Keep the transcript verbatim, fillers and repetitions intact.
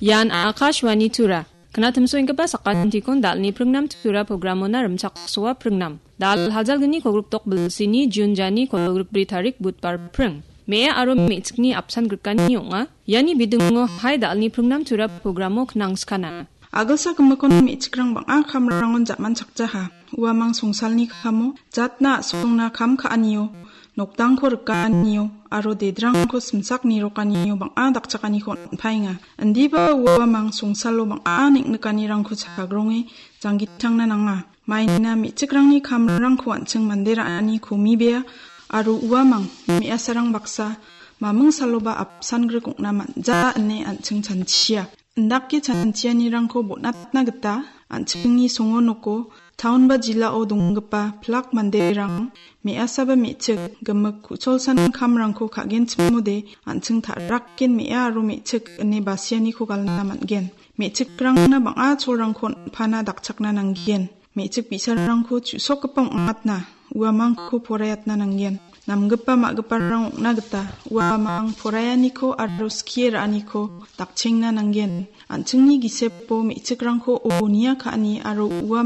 Ian Akashvani Tura. Knatimsoenggipa sakantikon dalni pringnam Tura programona rimchaksoa pringnam. Dal hajalgni kolgrikdok bilsini Jun jani kolgrikbri tarik Budbar pring. Me·a aro me·chikni apsan grikani ong·a. Iani bidingo hai dalni pringnam Tura programo knangskana. Agilsa gimikon me·chikrang bang·a kamrangon jamanchakjaha. Uamang songsalni kamo, jatna a·songna kam ka·anio, nokdangko rikanio, aro dedrangko simsak nirokanio bang·a dakchakaniko on·paenga. Indiba uamang songsalo bang·a neng·nikanirangko chagronge janggitangna nanga. Maina me·chikrangni kamrangko an·ching mande ra·ani komibea, aro uamang me·asarang baksa maming saloba apsan grik ong·na man·ja ine an·ching chanchia. Indake chanchianirangko bonatna gita an·chingni songo noko taon ba jilao donggipa plak manderang me·asaba me·chik gimik ku·cholsan kamrangko ka·genchimode an·ching ta·rakken me·a aro me·chik ine basianiko galna man·gen. Me·chikrangna bang·a cholrangko on·pana dakchakna nanggen. Me·chik bi·sarangko chu·sokgipa ong·atna, uamangko poraiatna nanggen. Namgipa ma·giparang ong·na gita uamang poraianiko aro skie ra·aniko dakchengna nanggen. An·chingni gisepo me·chikrangko o nia ka·ani aro uamang